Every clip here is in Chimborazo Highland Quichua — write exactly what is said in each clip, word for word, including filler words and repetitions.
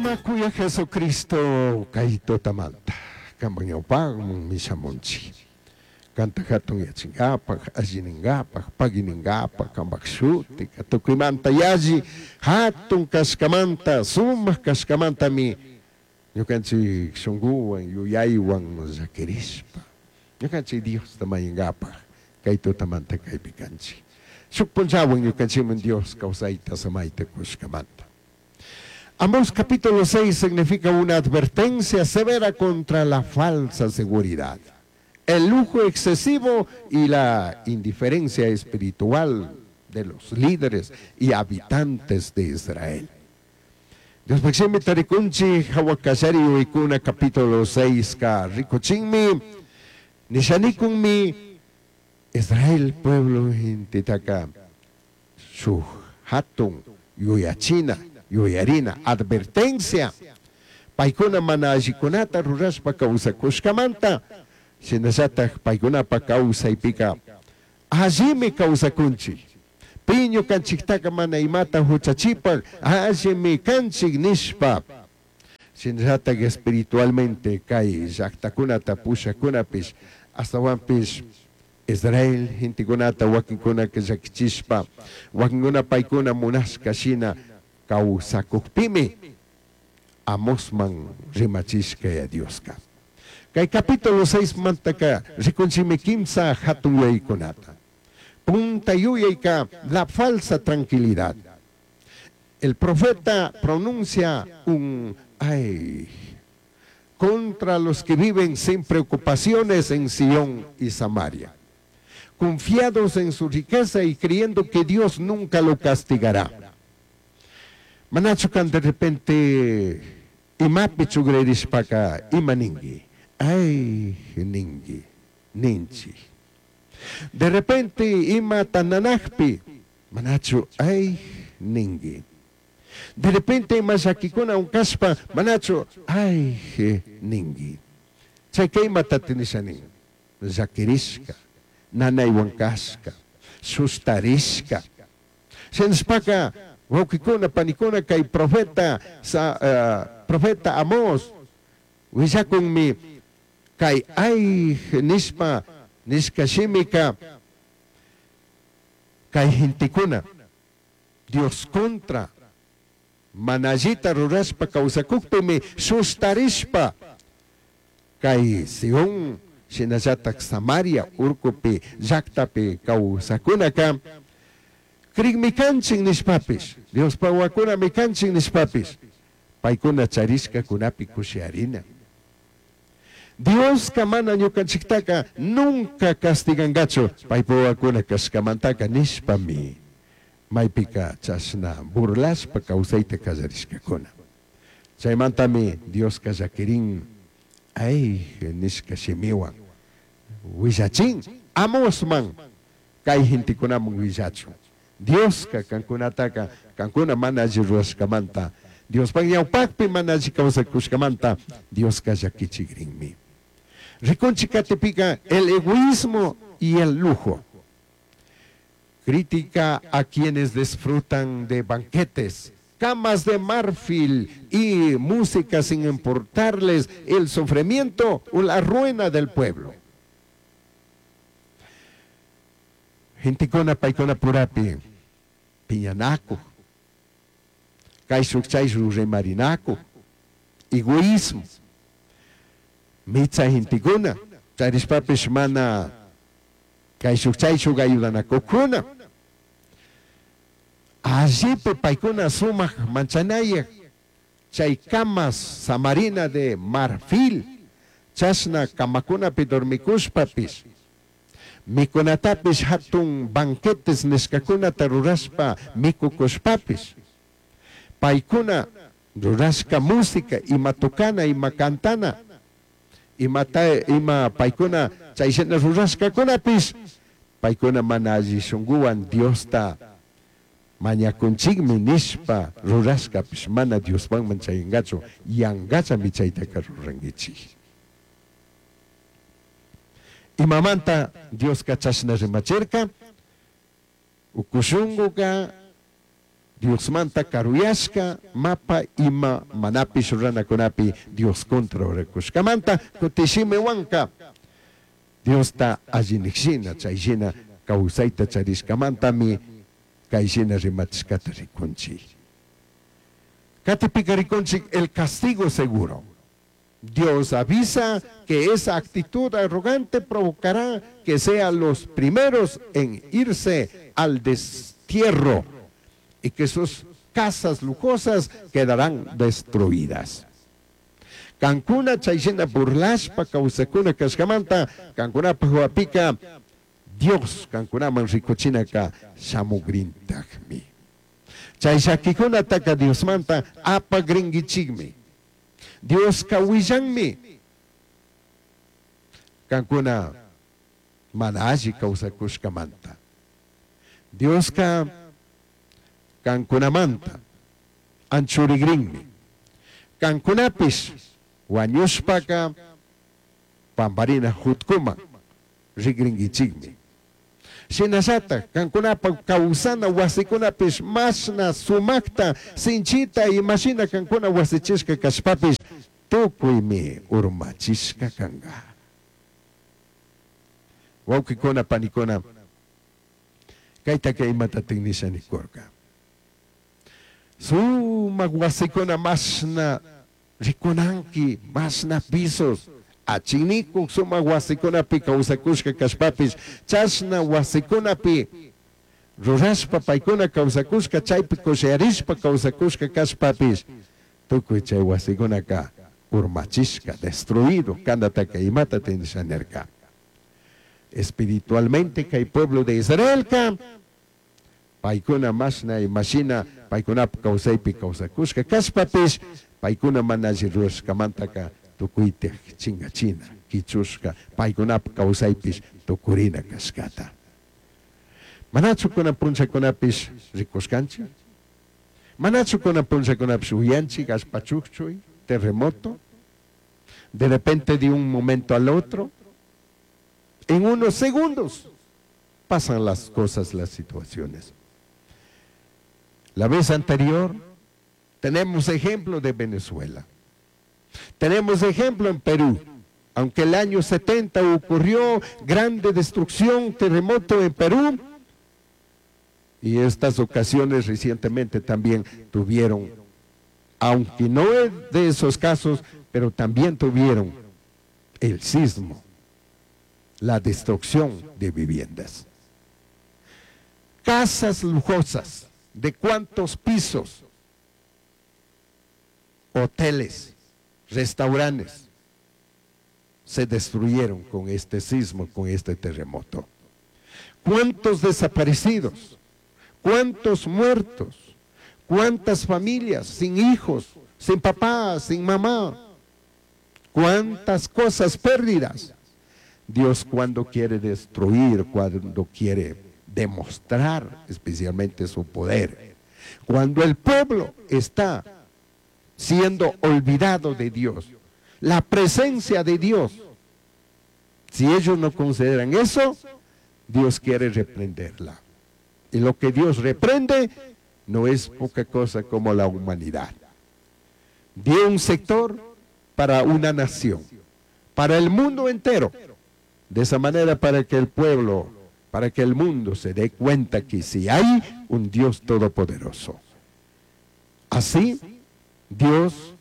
Sumaj kuyaj Jesucristo kay tutamanta kanpak ñawpakman shamunchik. Kanta jatunyachinkapak, allininkapak, paguininkapak, kanpak shutika tukuymanta yalli hatun kashkamanta, sumak kashkamantami ñukanchik shunkuwan, yuyaywan llakirishpa ñukanchik Diosta mañankapak kay tutamanta kaypi kanchik. Shuk punllawan ñukanchikman Dios kawsayta samayta kushkamanta. Amós capítulo seis significa una advertencia severa contra la falsa seguridad, el lujo excesivo y la indiferencia espiritual de los líderes y habitantes de Israel. Diospaj shimita rikunchik jahua kallari yuyaikuna capítulo seis ka rikuchinmi, nishanikunmi Israel pueblo gentetaca shuj hatun yuyachina, yuyarina, advertencia. Paykuna mana allikunata rurashpa kawsakushkamanta, shinallataj paykunapa kawsaypika allimi kawsakunchik. Pi ñukanchiktaka mana imata huchachipak allimi kanchik nishpa. Shinallataj espiritualmente kay llaktakunata pushakunapish ashtawanpish Israel gentekunata wakinkunaka llakichishpa, wakinkuna paykuna munashka shina kawsakukpimi Amosman rimachishka ya Dioska. Kay capítulo seis mantaka rikunchikmi kimsa hatun yuyaykunata. Punta yuyayka la falsa tranquilidad. El profeta pronuncia un ay contra los que viven sin preocupaciones en Sion y Samaria, confiados en su riqueza y creyendo que Dios nunca lo castigará. Manachu kan de repente imapi chugririshpaka ima ningui, ay ningui, ninchi. De repente ima tananajpi manachu ay ningui. De repente ima llakikuna unkashpa manachu ay ningui. Chayka imata nisha nin, llakirishka, nanaywan kashka, sustarishka. Shinashpaka wawkikuna panikuna kay profeta sa, uh, profeta Amós willakunmi kay ay nishpa nishka shimika kay gentekuna Dios contra mana allita rurashpa kawsakukpimi sustarishpa kay Sion shinallatak Samaria urkupi llaktapi kawsakunaka krikmi kanchik nishpapish Diospa wawakunami kanchik nishpapish paykuna charishkakunapi kushiarina. Dioska mana ñukanchiktaka nunca castigangachu paypa wawakuna kashkamantaka nishpami maypika chashna burlashpa kawsayta kallarishkakuna. Chaymantami Dioska llakirin ay nishka shimiwan willachin Amosman kay gentekunaman willachun. Dioska kankunataka kankuna mana alli rurashkamanta Diospaj ñawpakpi mana alli kawsakushkamanta Dioska llakichikrinmi. Rikunchik katipika el egoísmo y el lujo. Crítica a quienes disfrutan de banquetes, camas de marfil y música sin importarles el sufrimiento o la ruina del pueblo. Gentekuna paykuna purapi piñanaku, kayshuk chayshuk rimarinaku, egoísmo. Mitsa gentekuna charishpapish mana kayshuk chayshuk ayudanakukuna. Allipi paykuna sumak manchanayaj chay camas samarina de marfil chashna kamakunapi dormikushpapish mikunatapish hatun banquetes nishkakunata rurashpa mikukushpapish paykuna rurashka música ima tocana ima cantana imata ima paykuna chayshina rurashkakunapish paykuna mana alli shunkuwan Diosta mañakunchikmi nishpa rurashkapish mana Diosmanman chayankachu yankachami chaytaka rurankichik. Imamanta Dioska chashna rimachirka ukushunkuka Diosmanta karuyashka mapa ima manapish ruranakunapi Dios contra rurakushkamanta kutishimiwanka Diosta allinikshina chayshina kawsayta charishkamantami kayshina rimachishkata rikunchik. Katipika rikunchik el castigo seguro. Dios avisa que esa actitud arrogante provocará que sean los primeros en irse al destierro y que sus casas lujosas quedarán destruidas. Kankuna chayshina burlashpa kawsakuna kashkamanta kankunapaj wapika Dios kankunaman rikuchinaka shamugrintakmi. Chay llakikunataka Diosmanta apagrinkichikmi. Dioska willanmi kankuna mana alli kawsakushkamanta. Dioska kankunamanta anchurigrinmi. Kankunapish wañushpaka pamparina jutkuman rigrinkichikmi. Shinallatak kankunapa kawsana wasikunapish mashna sumakta sinchita imashina kankuna wasichishka kashpapish tukuymi urmachishka kanka. Wawqikuna panikuna kaytaka imatatik nisha nikurka. Sumak wasikuna mashna rikunanki mashna pisos achinikuq sumak wasikunapi kawsakushka kashpapish chashna wasikunapi rurashpa paykuna kawsakushka chaypi kushayarishpa kawsakushka kashpapish tukuy chay wasikunaka urmachishka destruido kanataka imata nisha nirka. Espiritualmente kay pueblo de Israelka paykuna mashna imashina paykunapa kawsaypi kawsakushka kashpapish paykuna mana alli rurashkamantaka tukuyta chingachina kichushka paykunapa kawsaypish tukurina kashkata. Manachu kunan punchakunapish rikushkanchik? Manachu kunan punchakunapish uyanchik allpa chukchuy, terremoto? De repente de un momento al otro, en unos segundos pasan las cosas, las situaciones. La vez anterior tenemos ejemplo de Venezuela. Tenemos ejemplo en Perú. Aunque el año setenta ocurrió grande destrucción, terremoto en Perú, y estas ocasiones recientemente también tuvieron, aunque no es de esos casos, pero también tuvieron el sismo, la destrucción de viviendas. Casas lujosas, ¿de cuántos pisos? Hoteles, restaurantes, se destruyeron con este sismo, con este terremoto. ¿Cuántos desaparecidos? ¿Cuántos muertos? ¿Cuántas familias sin hijos, sin papá, sin mamá? ¿Cuántas cosas perdidas? Dios cuando quiere destruir, cuando quiere demostrar especialmente su poder, cuando el pueblo está siendo olvidado de Dios, la presencia de Dios, si ellos no consideran eso, Dios quiere reprenderla. Y lo que Dios reprende no es poca cosa como la humanidad. Dio un sector para una nación, para el mundo entero. De esa manera, para que el pueblo, para que el mundo se dé cuenta que si hay un Dios todopoderoso. Así, Dios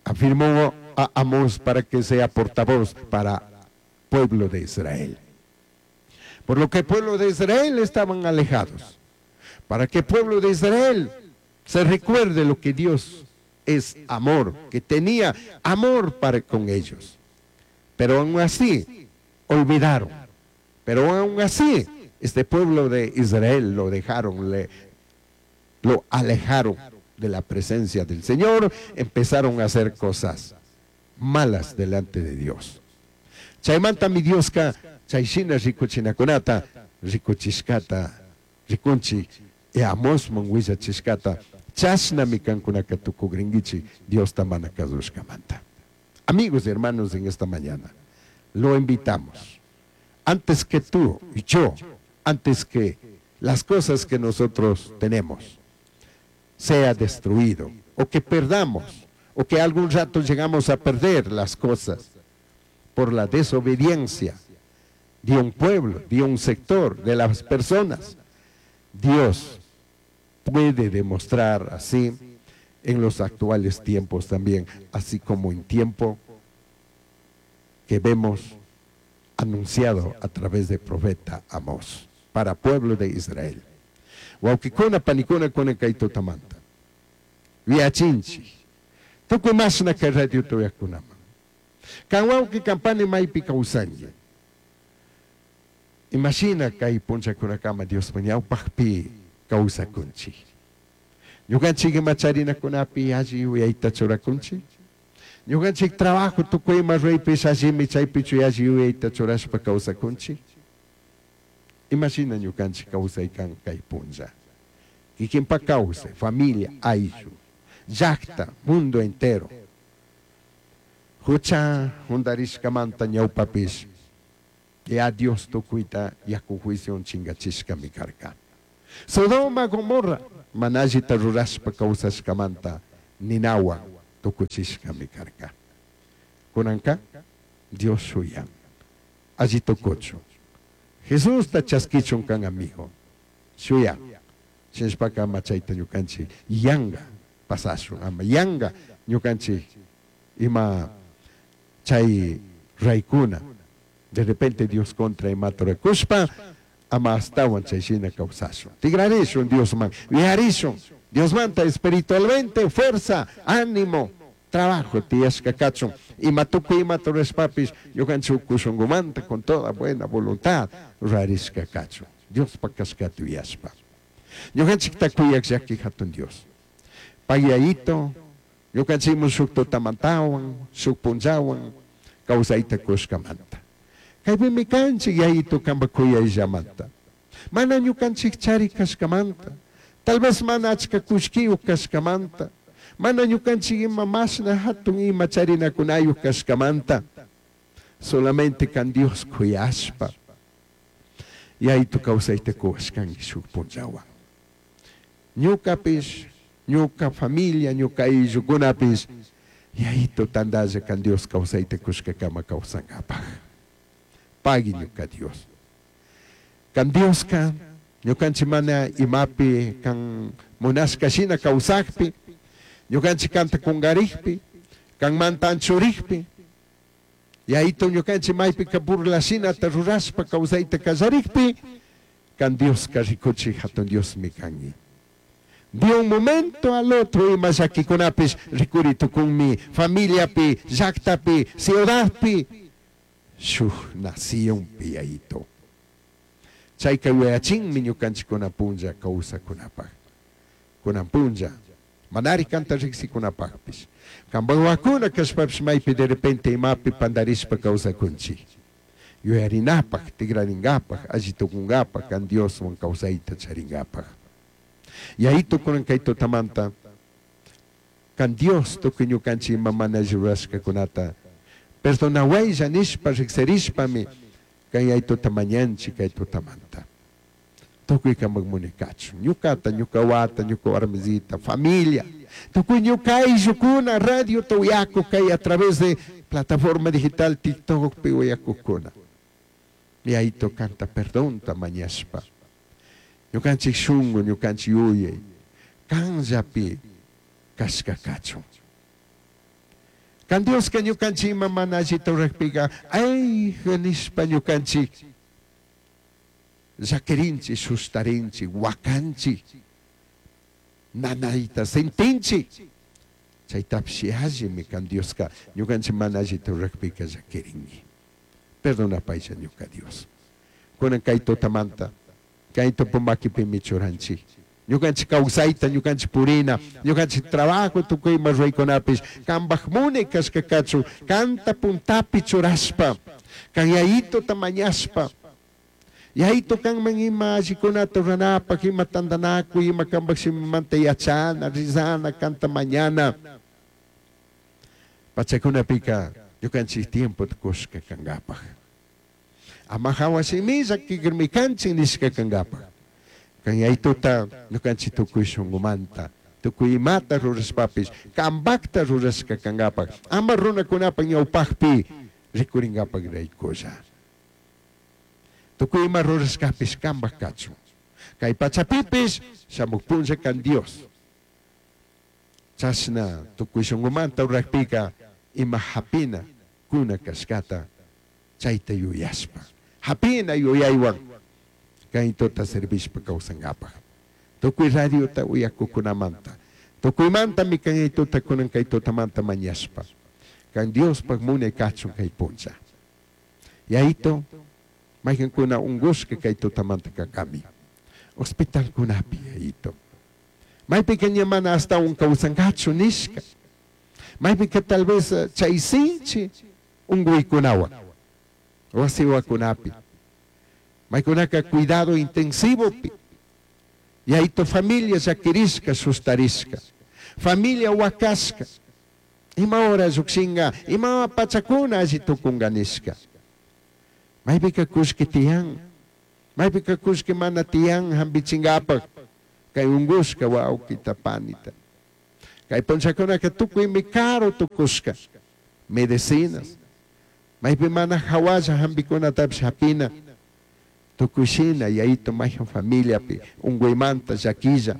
afirmó a Amós para que sea portavoz para pueblo de Israel. Por lo que el pueblo de Israel estaban alejados. Para que el pueblo de Israel se recuerde lo que Dios es amor, que tenía amor para con ellos. Pero aún así, olvidaron. Pero aún así, este pueblo de Israel lo dejaron, le, lo alejaron de la presencia del Señor, empezaron a hacer cosas malas delante de Dios. Chaymanta mi Dioska, chayshina rikuchinakunata, rikuchishkata, rikunchi, e Amosman willachishkata, chashnami kankunaka tukugringichi, Diosta mana kasushkamanta. Amigos y hermanos, en esta mañana, lo invitamos. Antes que tú y yo, antes que las cosas que nosotros tenemos sea destruido o que perdamos o que algún rato llegamos a perder las cosas por la desobediencia de un pueblo, de un sector, de las personas. Dios puede demostrar así en los actuales tiempos también, así como en tiempo que vemos anunciado a través del profeta Amós para pueblo de Israel. Huauquicuna, panicuna, kunan kay tutamanta. Yuyachinchij. Tukuy mashna kay radio uyakunaman. Kan huauqui kan pani maypi kawsanki. Imashina kay punllakunakama Dios ñawpaqpi kawsakunchik. Ñukanchik ima charinakunapi alli yuyayta churakunchik. Ñukanchik trabajo tukuy ima ruraypish allimi chaypichu alli yuyayta churashpa kawsakunchik. Imashina ñukanchik kawsaykan kay punlla. Kikinpa kawsay, familia, ayllu, llaqta, mundo entero. Hucha jundarishkamanta ñawpapish ya Dios tukuyta yaku juicio chingachishkami karka. Sodoma, Gomorra, mana allita rurashpa kawsashkamanta ninawan tukuchishkami karka. Kunanka Dios shuyan. Alli tukuchun. Jesusta chaskichun kan amigo. Shuyan. Shinashpaka ama chayta ñukanchik yanga pasashun ama yanga ñukanchik ima chay raykuna de repente Dios contra imata rurakushpa ama astawan chay shina kawsashun. Tigrarishun Diosman, yuyarishun Diosmanta espiritualmente fuerza, ánimo, trabajo tiyashka kachun. Ima tukuy imata rurashpapish ñukanchik uku shunkumanta con toda buena voluntad rurarishka kachun. Diospa kashkata yuyashpa. Ñukanchikta kuyak llaki hatun Dios. Payayito, ñukanchikmun shuk tutamantawan, shuk punllawan kawsayta kushkamanta. Kaypimi kanchik yayito kanpa kuyayllamanta. Mana ñukanchik chari kashkamanta. Tal vez mana achka kullkiyuq kashkamanta. Mana ñukanchik ima mashna hatun ima charinakunayuq kashkamanta. Solamente kan Dios kuyashpa. Yayito kawsayta kuwashkanki shuk punllawan. Ñukapish, ñuka familia, ñuka ayllukunapish, yayito tandalla kan Dios kawsayta kushkakama kawsankapaj. Pagui ñuka Dios. Kan Dioska, ñukanchik mana imapi kan munashka shina kawsakpi, ñukanchik kanta kungarikpi, kan manta anchurikpi, yayito ñukanchik maypika burla shinata rurashpa kawsayta kallarikpi, kan Dioska rikuchik hatun Diosmi kanki. De un momento al otro ima llakikunapish rikuri tukunmi familiapi, llaktapi, ciudadpi, shuk nacionpi yayito. Chayka yuyachinmi ñukanchikkuna punlla kawsakunapaj. Kunan punlla, manari kanta riksikunapajpish. Kanpa wawakuna kashpapish maypi de repente imapi pandarishpa kawsakunchik. Yuyarinapaj, tigrarinkapaj, alli tukunkapaj, kan Dioswan kawsayta charinkapaj. Yayito kunan kay tutamanta, kan Dios tukuy ñukanchik ima mana alli rurashkakunata perdonawaylla nishpa riksirishpami kan yayituta mañanchik kay tutamanta. Tukuy kanpak munikachun, ñukata, ñuka wawata, ñuka warmisita, familia, tukuy ñuka ayllukuna, radio uyakuq kay a través de plataforma digital TikTokpi uyakukuna. Yayito kanta perdonta mañashpa. Ñukanchik shunku, ñukanchik yuyay, kanllapi kashka kachun. Kan Dioska ñukanchik ima mana allita rurakpika, ay nishpa ñukanchik llakirinchik, sustarinchik, wakanchik, nanayta sentinchik. Chaytapish allimi kan Dioska ñukanchik mana allita rurakpika llakirinki. Perdonapaylla ñuka Dios. Kunan kay tutamanta, kay tupu makipimi churanchik. Ñukanchik kawsayta, ñukanchik purina, ñukanchik trabajo tukuy ima ruraykunapish, kanpaj munay kashka kachun, kanta puntapi churashpa, kan yayituta mañashpa, yayito kanman ima allikunata ruranapaj, ima tantanakuy, ima kanpaj shimimanta yachana, rizana, kanta mañana. Pachakunapika ñukanchik tiempo kushka kankapaj. Ama hawa shimilla kikirmi kanchik nishka kankapaj. Kan Yayituta ñukanchik tukuy shunkumanta tukuy imata rurashpapish kambakta rurashka kankapak ama runakunapak ñawpakpi rikurinkapak raykulla. Tukuy ima rurashkapish kampak kachun. Kay pachapipish shamuk punlla kan Dios. Chashna tukuy shunkumanta rurakpika ima hapina kuna kashkata chayta yuyashpa. Hapina yuyaywan kaytuta servishpa kawsankapak. Tukuy radiota uyakukunamanta. Tukuymantami kaytuta kunan kay tutamanta mañashpa. Kan Diospaj munay kachun kay punlla. Yayito, mayqankuna unkushka kay tutamanta kankami. Hospitalkunapi yayito. Maypika ña mana ashtawan kawsankachu nishka. Maypika tal vez chay sinchi unkuykunawan. Wasiwakunapi. Maykunaka cuidado intensivopi. Yayito familia llakirishka sustarishka. Familia wakashka. Ima hora llukshinka, ima pachakuna alli tukunka nishka. Maypika kullki tiyan. Maypika kullki mana tiyan hampichinkapak. Kay unkushka wawkita panita. Kay punllakunaka tukuymi caro tukushka. Medicinas. Maypi mana hawalla hampikunatapish hapina. Tukuy shina yayito mayhan familiapi unkuymanta llakilla.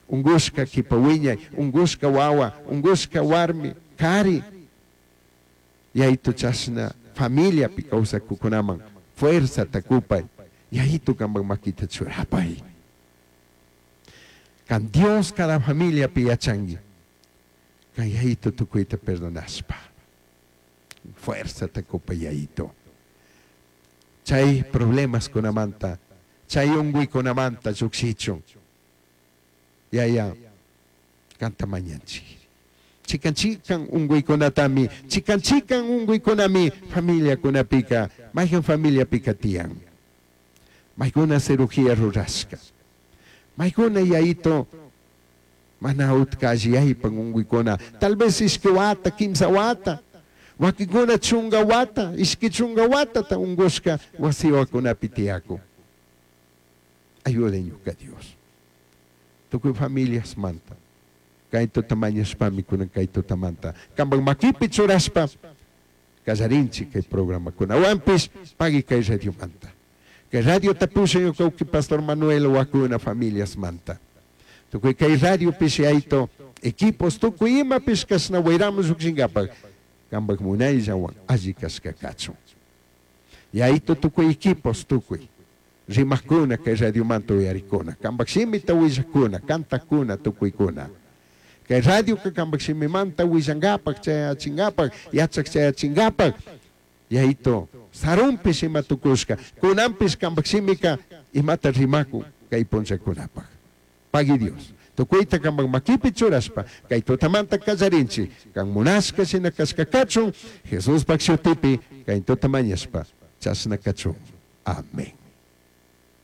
Unkushka kipa wiñay, unkushka wawa, unkushka warmi, kari. Yayito chashna familiapi kawsakukunaman fuerzata kupay. Yayito kampak makita churapay. Kan Dios cada familiapi yachanki. Kan yayito tukuyta perdonashpa. Fuerzata kupay yayito. Chay problemas kunamanta, chay unkuykunamanta llukshichun. Yaya, kanta mañanchik. Chikan chikan unkuykunatami, chikan chikan unkuykunami familiakunapika, mayhan familiapika tiyan. Maykuna cirugía rurashka. Maykuna yayito mana utka alliyaypan unkuykuna. Tal vez ishki wata, kimsa wata. Wakinkuna chunka wata, ishki chunka watata unkushka wasiwakunapi tiyakun. Ayuden ñuka Dios. Tukuy familias manta. Kay tutamañashpami kunan kay tutamanta. Kampak makipi churashpa kallarinchik kay programakunawanpish pagui kay radiomanta. Kay radiota pushan ñuka Pastor Manuel wakuna familias manta. Tukuy kay radiopish yayito equipos tukuy imapish kashna wayramos llukshinkapak kampak munayllawan alli kashka kachun. Yayito tukuy equipos tukuy. Rimakuna kay radiomanta uyarikuna. Kampak shimita willakuna, kantakuna, tukuykuna. Kay radioka kampak shimimanta willankapak, chayachinkapak, yachak chayachinkapak. Yayito, sarunpish ima tukushka, kunanpish kampak shimika imata rimakun kay punllakunapak. Pagui Dios. Tukuyta kampak makipi churashpa, kay tutamanta kallarinchik, kan munashka shina kashka kachun, Jesuspak shutipi, kay tutamañashpa, chashna kachun. Amén.